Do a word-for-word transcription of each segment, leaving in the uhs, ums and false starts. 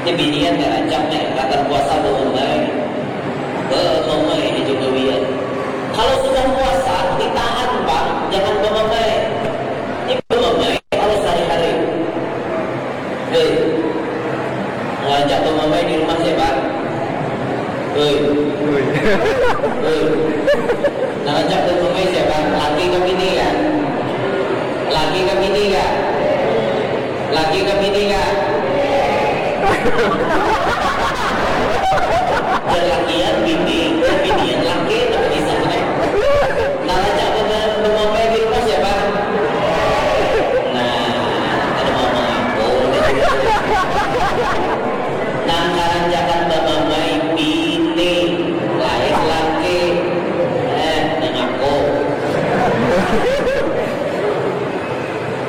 Ini binian karancak nih, rakan puasa bamamai. Bamamai haja gawian. Kalau sudah puasa, ditahan pang, jangan bamamai. Ini bamamai kalau sehari-hari. Hei, ngajak bamamai di rumah siapa? Hei. Hei. Ngajak bamamai siapa? Laki kah bini kah? Laki kah bini kah? Laki kah bini kah? Jar lakian bini, jar binian laki, tapi kisah nih. Nah, rancak bema-, bemomai di rumah siapa? Nah, kada mau mengaku. Nang karancakan bemomai bini, lain laki. Eh, mengaku.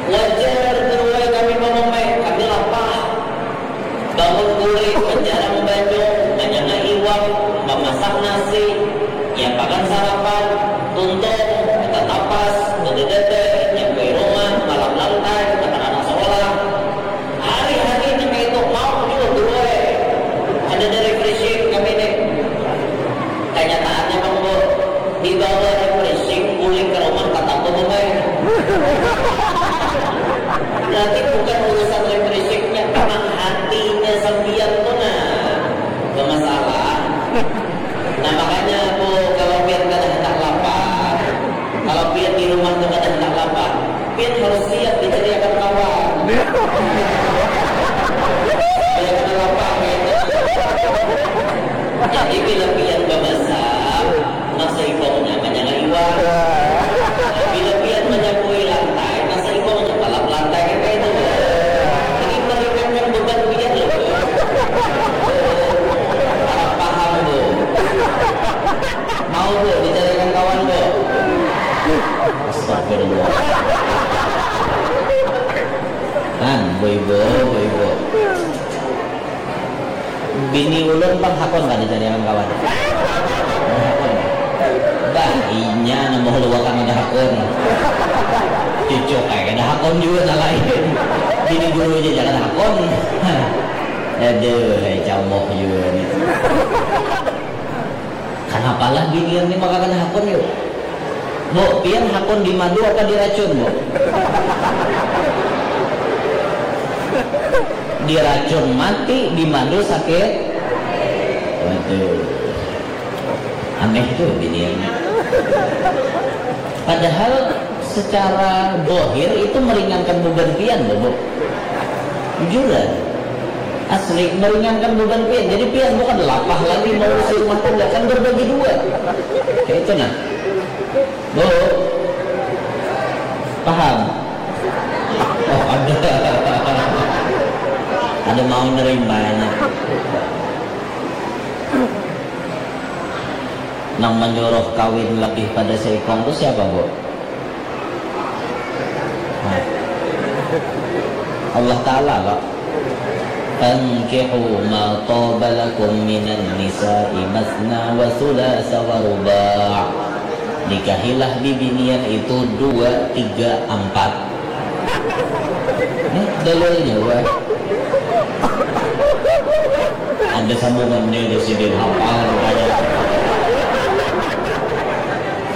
Wajar, beruai kami bemomai, kami lapah. Bangun guring, menjarang banyu, manyanga iwak, mamasak nasi, nyiapakan sarapan, tuntung, tatapas, bededede, nyabui rumah, malap lantai, matakan anak sekolah. Hari-hari nang kaya itu, mau jua guru ai. Kadada refreshing kami nih. Kanyataannya, Bang, Bu, dibawa refreshing, bulik ka rumah, tatap bebemai. Berarti bukan urusan refreshingnya, emang hatinya sampiyan tu nah bamasalah. Nah, makanya, Bu, kalau pian kada handak lapar, kalau pian di rumah tu kada handak lapar, pian harus siap dicariakan kawan. Supaya kada lapar, gitu. Jadi, bila pian bamasak, nang saikongnya manyanga iwak. Bila pian manyabui lantai, nang saikongnya malap lantai, kan kaya itu. Ini meringankan beban pian, loh. Harap paham, Bu. Mau, Bu, dicarikan kawan, Bu? Astagfirullah. Kan, Bu Ibu, Bu Ibu. Bini ulun pang hakun kada dicariakan kawan. Hakun. Bah, inya nambah luakan kada hakun. Cucuk ai kada hakun jua, nang lain. Bini guru aja kada hakun. Aduh, hai camoh jua nih. Kanapalah binian ni maka kada hakun, yu? Bu, pian hakun di madu apa di racun, Bu? Di racun mati, di madu sakit. Waduh. Aneh tu binian. Padahal secara dohir itu meringankan beban pian, loh, Bu. Bujuran. Asli, meringankan beban pian. Jadi pian bukan lapah lagi mengurusi rumah tangga, kan berbagi dua. Kayak itu, nah. Bu, paham? Oh, ada. Ada mau nerimanya. Nang menyuruh kawin lebih pada seikong tu siapa, Bu? Nah. Allah Ta'ala, kok. Fankihu ma taba lakum minan nisa'i masna wa sulasa wa ruba'. Nikahilah bibinian itu dua, tiga, ampat. Nih, dalilnya, wah. Ada sambungannya, ada sidin hafal, rupanya.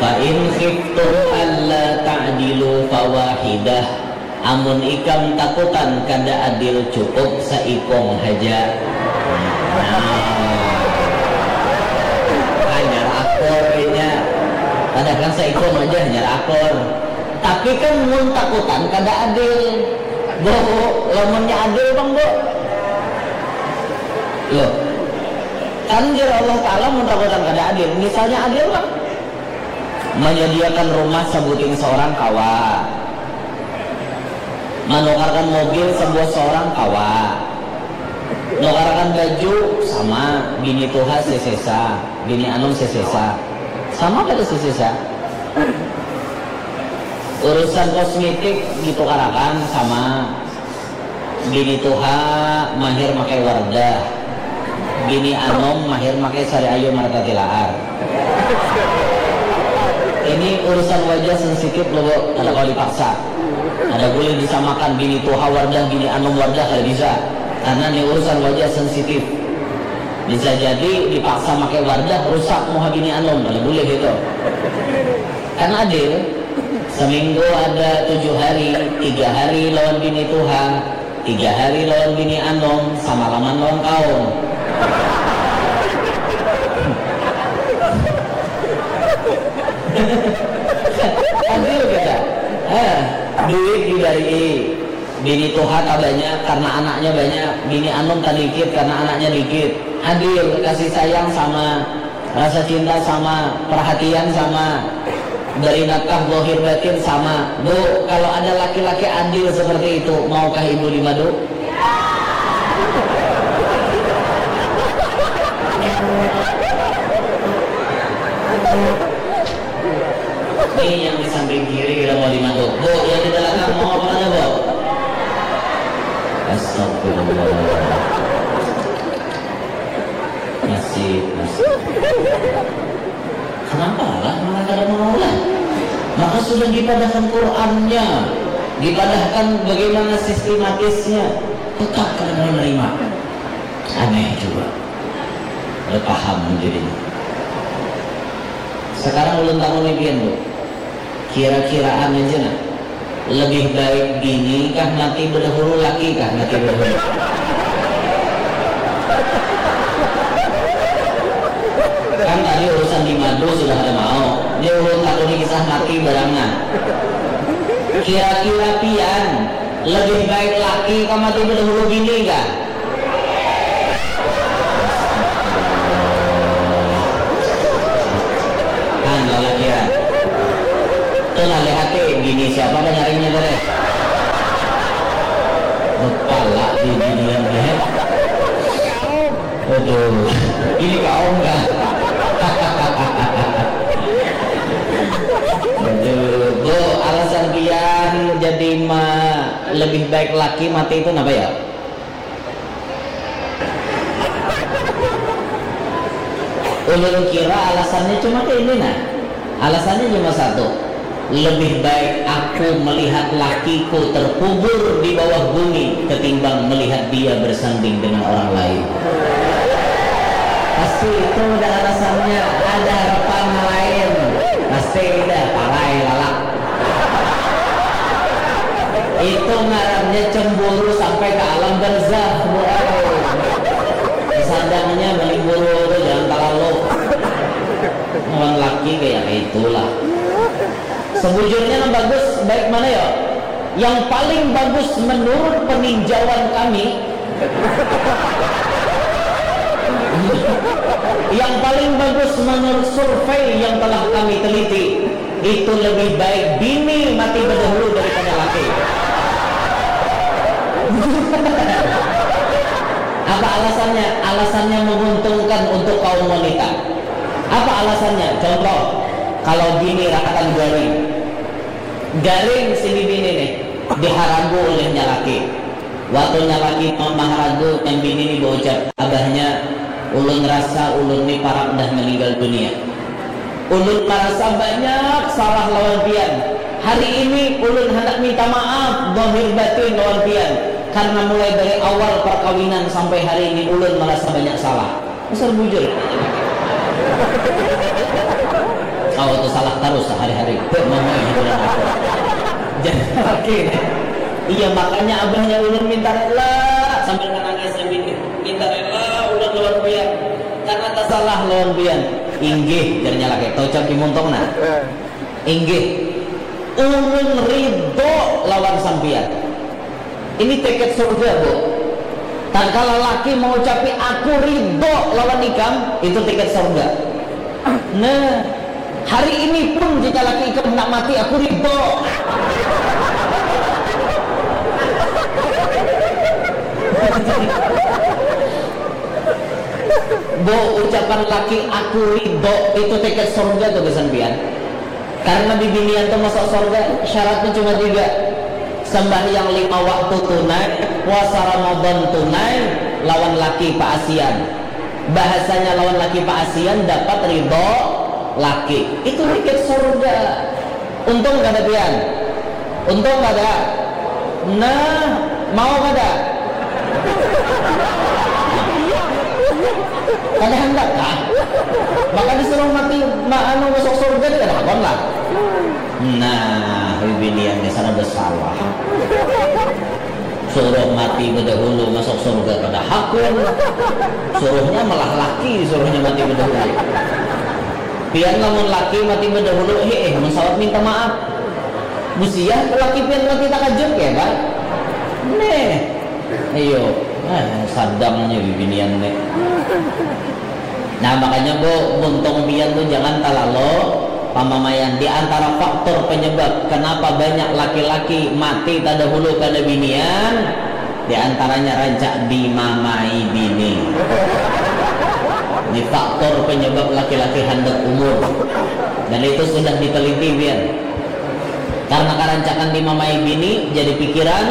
Fa in khiftum alla ta'dilu fawahidah. Amun ikam takutan kada adil, cukup saikung haja. Nah. Hanyar akur inya. Padahal saikung aja hanyar akur. Tapi kan mun takutan kada adil. Bu, lamunnya adil, Bang, Bu. Loh. Kan jar Allah Ta'ala mun takutan kada adil. Misalnya adil, Bang. Menyediakan rumah sabuting seorang kawa. Menukarkan mobil sebuah seorang kawa. Nukarkan baju sama, bini tuha sesesa, bini anum sesesa. Sama kada sesesa? Urusan kosmetik ditukarakan sama. Bini tuha mahir makai Wardah. Bini anum mahir makai Sari Ayu Martatilaar. Ini urusan wajah sensitif, loh, Bu. Kada kawa dipaksa. Kada boleh disamakan bini tuha Wardah, bini anum Wardah, kada bisa. Karena ini urusan wajah sensitif. Bisa jadi dipaksa pakai Wardah, rusak muha bini anum, kada boleh itu. Kan adil, seminggu ada tujuh hari, tiga hari lawan bini tuha, tiga hari lawan bini anum, samalaman lawan kaum. Adil kita. Eh, duit diberi, bini tuha tak banyak karena anaknya banyak, bini anum tak dikit karena anaknya dikit. Adil, kasih sayang sama, rasa cinta sama, perhatian sama, beri nafkah zahir batin sama. Bu, kalau ada laki-laki adil seperti itu, maukah ibu dimadu? Ini yang di samping kiri udah mau dimadu. Bu, yang di belakang mau apa mana, Bu? Astagfirullah. Nasib, nasib. Kenapa lah malah kada mau lah? Maka sudah dipadahkan Qurannya, dipadahkan bagaimana sistematisnya, tetap kada mau nerima. Aneh juga. Kada paham jadinya. Sekarang ulun takuni pian, Bu. Kira-kiraan aja nah. Lebih baik bini kah mati bedahulu, laki kah mati bedahulu? Kan tadi urusan di madu sudah ada mau. Ini ulun takuni kisah mati barang nah. Kira-kira pian lebih baik laki kah mati bedahulu bini kah? Kan lalakian. Tuh nah, lihat nih, bini siapa penyaringnya tadi? Kepala di binian nih. Aduh, ini kaum kah? Aduh, Bu, alasan pian jadi ma lebih baik laki mati itu kenapa ya? Ulun kira alasannya cuma kayak ini nah. Alasannya cuma satu. Lebih baik aku melihat lakiku terkubur di bawah bumi ketimbang melihat dia bersanding dengan orang lain. Pasti itu udah alasannya, ada harapan lain. Pasti udah parai lalak. Itu ngarannya cemburu sampai ke alam barzakh, Bu ai. Sadangnya menimburu tu jangan talalu. Lawan laki kayak itulah. Sebujurnya nang bagus baik mana ya? Yang paling bagus menurut peninjauan kami, yang paling bagus menurut survei yang telah kami teliti, itu lebih baik bini mati bedahulu daripada laki. Apa alasannya? Alasannya menguntungkan untuk kaum wanita. Apa alasannya? Contoh, kalau bini rakan garing, garing si bibi ini nih, diharagu olehnya laki. Waktunya laki mamaharagu yang bini ini berucap, abahnya, ulun rasa ulun ni parak dah meninggal dunia. Ulun marasa banyak salah lawan pian. Hari ini ulun handak minta maaf zahir batin lawan pian karena mulai dari awal perkawinan sampai hari ini ulun marasa banyak salah. Pasal bujur. Kau tu salah tarus sehari-hari. Jadi laki. Iya, makanya abahnya ulun minta rela sambil menangis sambil minta rela ulun lawan pian karena tasalah lawan pian. Inggih, jarnya laki. Taucap di muntung nah. Inggih, ulun ridho lawan sampian. Ini tiket surga, Bu. Tatkala laki mengucapi aku ridho lawan ikam, itu tiket surga. Nah, hari ini pun jika laki ikam hendak mati, aku ridho. Bu, ucapan laki aku ridho itu tiket surga tuh gasan pian. Karena bibinian tuh masuk surga, syaratnya cuma tiga. Sembahyang lima waktu tunai, puasa Ramadan tunai, lawan laki paasian. Bahasanya lawan laki paasian dapat ridho laki. Itu tiket surga. Untung kada pian? Untung kada? Nah, mau kada? Kada handak kah? Maka disuruh mati, ma, anu, masuk surga, kada hakun lah. Nah, bibinian di sana bersalah. Suruh mati bedahulu masuk surga kada hakun. Suruhnya malah laki, suruhnya mati bedahulu. Pian lamun laki mati bedahulu, eh, eh, mun sawat minta maaf. Busiah laki pian mati takajut ya, Pak? Neh. Iyo. Eh, sadangnya bibinian nih. Nah, makanya, Bu, buntung pian tuh jangan terlalu pamamaian. Di antara faktor penyebab kenapa banyak laki-laki mati terdahulu kada binian, di antaranya rancak dimamai bini. Ini faktor penyebab laki-laki handap umur. Dan itu sudah diteliti, pian. Karena karancakan dimamai bini, jadi pikiran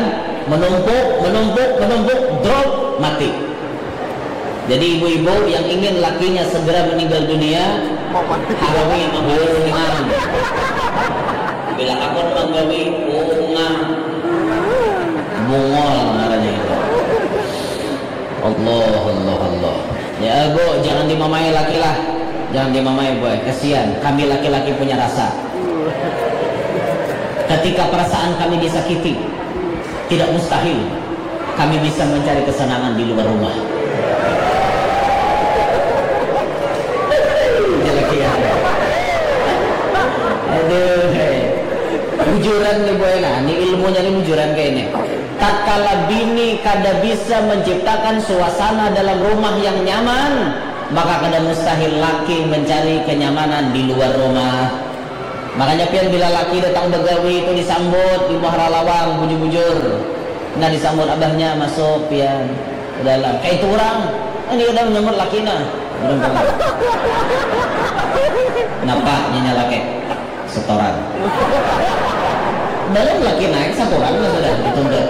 menumpuk, menumpuk, menumpuk, drop, mati. Jadi ibu-ibu yang ingin lakinya segera meninggal dunia, harumi bungan. Bila aku menggawi bungan, bungol namanya itu. Allah, Allah, Allah. Ya, Bu, jangan dimamai laki lah. Jangan dimamai, Bu. Kasihan, kami laki-laki punya rasa. Ketika perasaan kami disakiti, tidak mustahil kami bisa mencari kesenangan di luar rumah. Jelek ya. Aduh, hei. Bujuran nih, boy, nah, ini ilmunya nih bujuran kayak ini. Tatkala bini kada bisa menciptakan suasana dalam rumah yang nyaman, maka kada mustahil laki mencari kenyamanan di luar rumah. Makanya pian bila laki datang begawi itu disambut di muhara lawang, bujur-bujur. Nah, disambut abahnya, "Masuk, pian, ke dalam." Kayak itu orang, ini kada menyambut laki nah. Napa nyanya laki? Setoran. Belum laki naik, setoran lah sudah ditunda.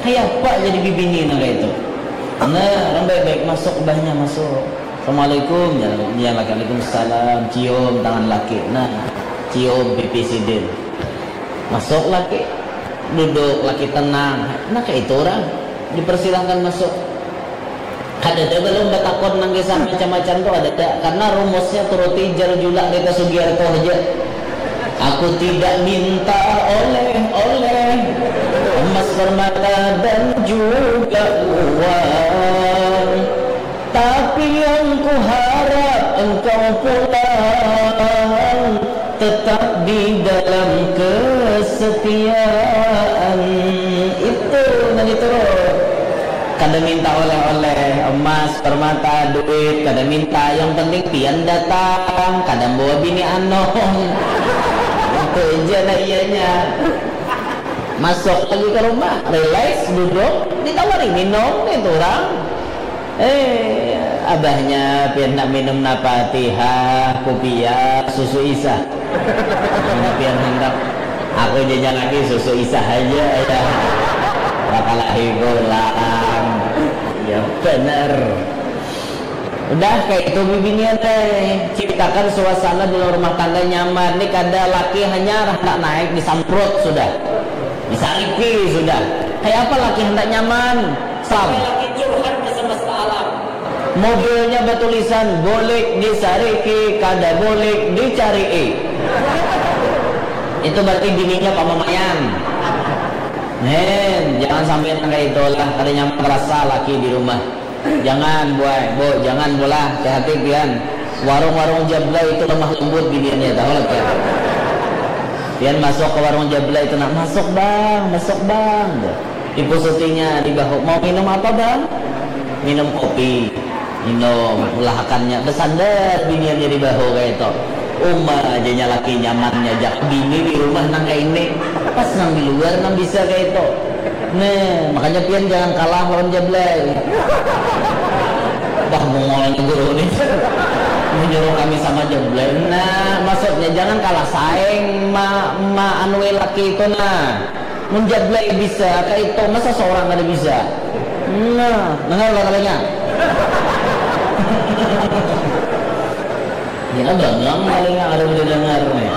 Kayak apa jadi bibini nah kayak itu? Nah, orang baik-baik masuk, abahnya masuk. "Assalamualaikum." Ya, ya, laki, "Waalaikumsalam." Cium tangan laki. Nah, cium pipi sidin. Masuk laki. Duduk laki tenang. Nah, kayak itu orang. Dipersilahkan masuk. Kadada balum batakun nang kisah macam-macam tu, kadada. Karena rumusnya turuti jar julak kita Sugiarto haja. Aku tidak minta oleh-oleh, emas, permata dan juga uang. Tapi yang kuharap engkau pulang tetap di dalam kesetiaan. Itu nang diturut. Kada minta oleh-oleh, emas, permata, duit, kada minta. Yang penting pian datang, kada bawa bini anum. Itu aja lah iyanya. Masuk lagi ke rumah, relax, duduk, ditawari minum, itu orang. Eh, abahnya pian nak minum napa, tihah, kupiah, susu isah. Mun pian handak, aku jajan lagi susu isah aja ya. Bakalahi pulang. Ya bener. Udah kayak itu bibinian teh. Ciptakan suasana dalam rumah tangga nyaman. Ini kada laki hanya handak naik disamprot sudah. Disariki sudah. Kayak apa laki handak nyaman? Sam. Laki curhat ke semesta alam. Mobilnya bertulisan, "Bulik disariki, kada bulik dicarii." Itu berarti bininya pamamaian. Nen, jangan sampai nang kayak itulah, kada nyaman rasa laki di rumah. Jangan, buai, bu, jangan, bulah, hati-hati pian. Warung-warung Jablay itu lemah lembut biniannya, tahu lah pian. Pian masuk ke warung Jablay itu, nak, "Masuk, Bang, masuk, Bang." Dipusutinya di bahu, "Mau minum apa, Bang?" "Minum kopi." Minum, ulahakannya, besandat biniannya di bahu kayak itu. Uma aja nya laki nyamannya, jak bini di rumah nang kayak ini. Pas nang di luar nang bisa kayak itu. Nah, makanya pian jangan kalah lawan Jablay. Dah mongolnya guru nih. Menyuruh kami sama Jablay. Nah, maksudnya jangan kalah saing ma, ma anui laki itu nah. Mun Jablay bisa, kayak itu masa seorang kada bisa. Nah, dengar lah katanya. Ya, banglang paling ada udah dengar nih.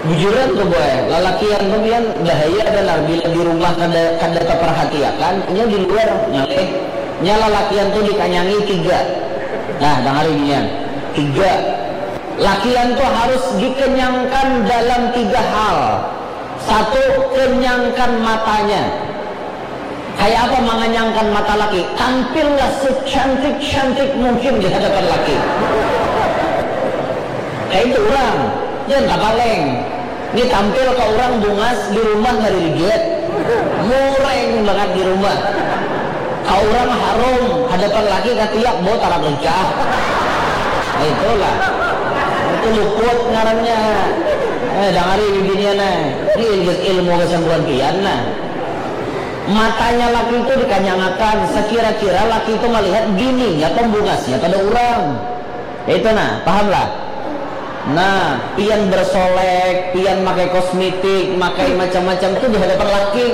Bujuran tuh boy, lalakian tuh pian bahaya banar bila di rumah kada kada taparhatiakan, nya di luar ngalih. Nya lalakian tuh dikanyangi tiga. Nah, dangari binian. Tiga. Lakian tuh harus dikenyangkan dalam tiga hal. Satu, kenyangkan matanya. Kayak apa menganyangkan mata laki? Tampillah secantik-cantik mungkin di hadapan laki. Kayak itu orang, jangan tapaleng. Ini tampil ke orang bungas di rumah nggak dilihat. Mureng banget di rumah. Ke orang harum, hadapan laki katiak bau tarak licah. Nah, itulah. Itu luput ngarannya. Eh, dangari bibinian eh. Ini ilmu kesembuhan pian nah. Matanya laki itu dikanyangakan, sekira-kira laki itu melihat bininya pembungasnya pada orang. Itu nah, paham lah? Nah, pian bersolek, pian pakai kosmetik, pakai macam-macam itu di hadapan laki.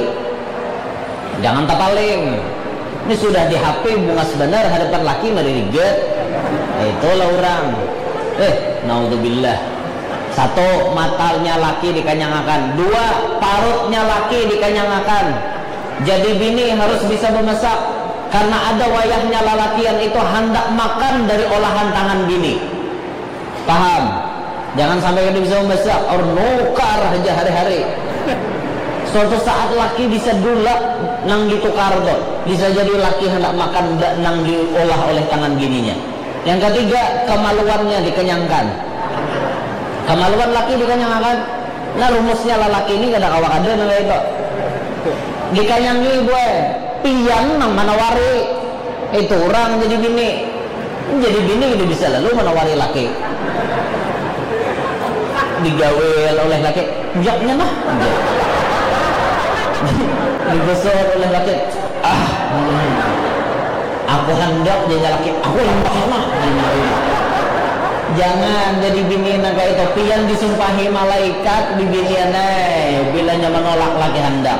Jangan tapaling. Ini sudah di H P bungas benar hadapan laki mari riget. Nah, itulah orang. Eh, naudzubillah. Satu, matanya laki dikanyangakan. Dua, parutnya laki dikanyangakan. Jadi bini harus bisa memasak. Karena ada wayahnya lalakian itu handak makan dari olahan tangan bini. Paham? Jangan sampai kada bisa memasak, orang nukar aja hari-hari. Suatu saat laki bisa dulak nang ditukar tuh. Bisa jadi laki hendak makan nang diolah oleh tangan bininya. Yang ketiga, kemaluannya dikenyangkan. Kemaluan laki dikenyangakan. Nah, rumusnya lalaki ini kada kawa kada nang itu. Dikanyangi boy, pian nang manawari. Itu orang jadi bini. Jadi bini itu bisa lalu manawari laki. Digawil oleh laki, jaknya mah. Digosor oleh laki, ah, hmm. Aku hendak jadi laki, aku hendak mah. Jangan jadi bini nang kayak itu. Pian disumpahi malaikat di binian eh, bila nyaman nolak laki hendak.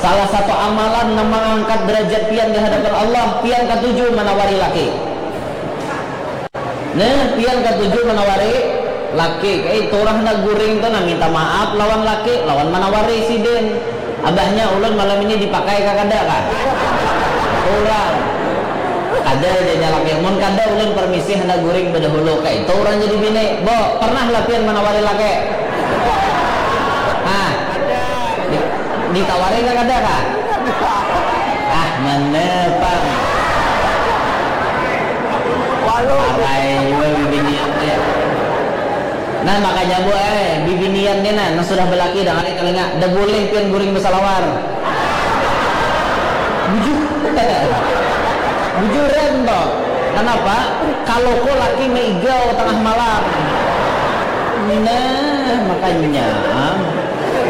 Salah satu amalan nang mengangkat derajat pian di hadapan Allah, pian katuju manawari laki. Nah, pian katuju manawari laki. Kayak itu orang nak guring tuh nah minta maaf lawan laki, lawan manawari sidin. Abahnya ulun malam ini dipakai kah kada kah? Kurang. Kada janya laki. Mun kada ulun permisi handak guring bedahulu. Kayak itu orang jadi bini. Bo, pernah lah pian manawari laki? Hah? Di, ditawari kah kada kah? Ah, mana pang? Parai jua bibinian teh. Nah, makanya bu eh, bibinian ni nah, nang sudah belaki dangari telinga, dah boleh pian guring besalawar. Bujur. Bujuran toh. Kenapa? Kalau ko laki meigau tengah malam. Nah, makanya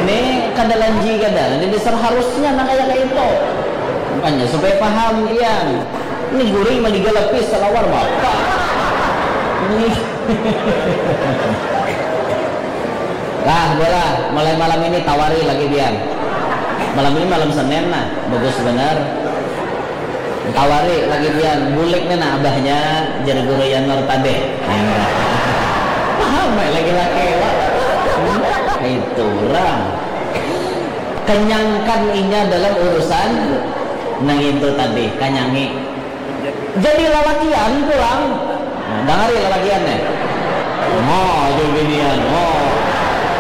ni kada lanji kada. Jadi seharusnya nang kayak itu. Makanya supaya paham pian. Ini guring mah digalapis salawar bapak. Ini. Lah, bola, mulai malam ini tawari lagi pian. Malam ini malam Senin nah, bagus benar. Tawari lagi pian, bulik nih nah abahnya, jar guru Yanur tadi. Paham ya lagi-laki, Wak? Itu orang. Kenyangkan inya dalam urusan nang itu tadi, kanyangi. Jadi lalakian pulang. Nah, dangari lalakian nih. Oh, jadi binian. Oh.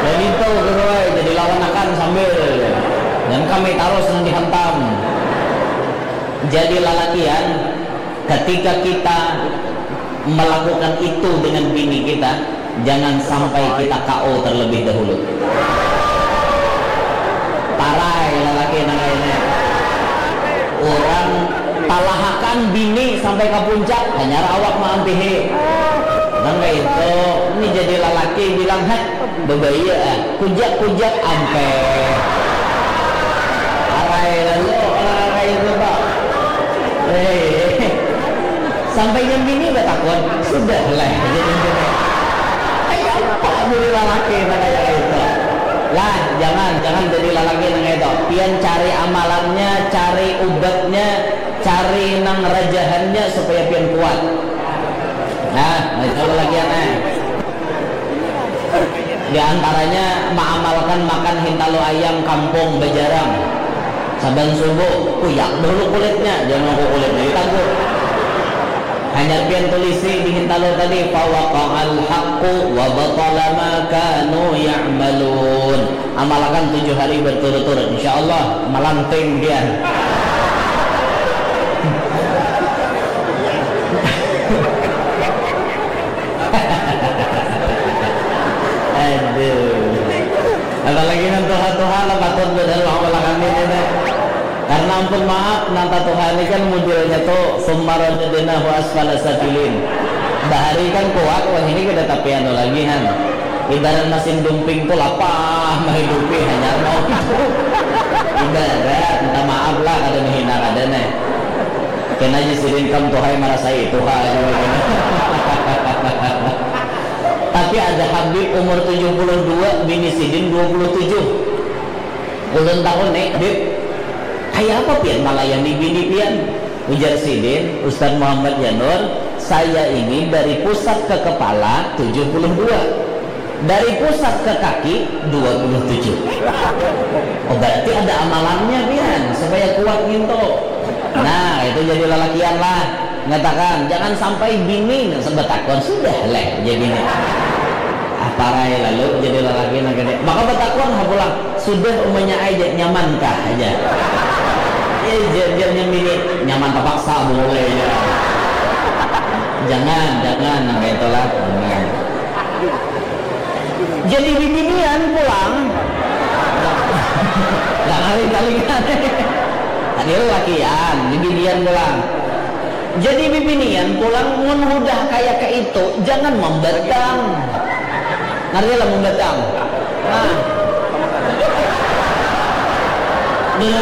Dan itu guru ai, jadi lawan akan sambil. Dan kami tarus nang dihantam. Jadi lalakian, ketika kita melakukan itu dengan bini kita, jangan sampai kita K O terlebih dahulu. Parai lalaki nang ini. Orang talahakan bini sampai ke puncak, hanyar awak maampihi. Nang kayak itu, ini jadi lalaki bilang, heh, bebaya ah, kujak-kujak ampe. Parai lalu, orang kayak itu, Pak. Eh, sampai yang bini batakun, sudah lah, jadi gini. Kayak apa jadi lalaki nang kayak itu? Lah, jangan, jangan jadi lalaki nang kayak itu. Pian cari amalannya, cari ubatnya, cari nang rajahannya supaya pian kuat. Nah, nah, itu lalakian eh. Di antaranya maamalkan makan hintalu ayam kampung bajarang. Saban subuh, kuyak dahulu kulitnya, jangan nunggu kulitnya ditaguk. Hanyar pian tulisi di hintalu tadi, fawaqa'al haqqu wa batala ma kanu ya'malun. Amalkan tujuh hari berturut-turut, insya Allah malanting pian. Aduh. Apalagi nang tuha-tuha lah patut badarah awal kami ini. Karena ampun maaf, nang tatuha ini kan modelnya tuh summa radadnahu asfala safilin. Bahari kan kuat, wah ini kada tapi anu lagi han. Ibarat mesin dumping tuh lapah menghidupi hanya mau itu. Ibarat, minta maaf lah kada menghina kada nih. Kena aja sidin kam tuha yang merasai tuha aja. Tapi ada Habib umur tujuh puluh dua, bini sidin dua puluh tujuh. Ulun takun nih, Bib, kayak apa pian melayani bini pian? Ujar sidin, Ustaz Muhammad Janur, saya ini dari pusat ke kepala tujuh puluh dua, dari pusat ke kaki dua puluh tujuh. Oh, berarti ada amalannya pian supaya kuat ngintu. Nah, itu jadi lelakian lah. Ngatakan, jangan sampai bini sebetakon sudah leh jadi ni. Ah, parai lalu jadi lelaki nang gede. Maka betakon ha pulang, sudah umanya aja nyaman kah aja. Ya, jangan bini nyaman terpaksa boleh ya. Jangan, jangan, nah itulah. Jangan. Jadi bibinian pulang. Nggak kali kali kan. Tadi lakian, bibinian pulang. Jadi bibinian pulang mun hudah kaya kaitu jangan mambatang. Ngerti lah mambatang? Nah. Dalam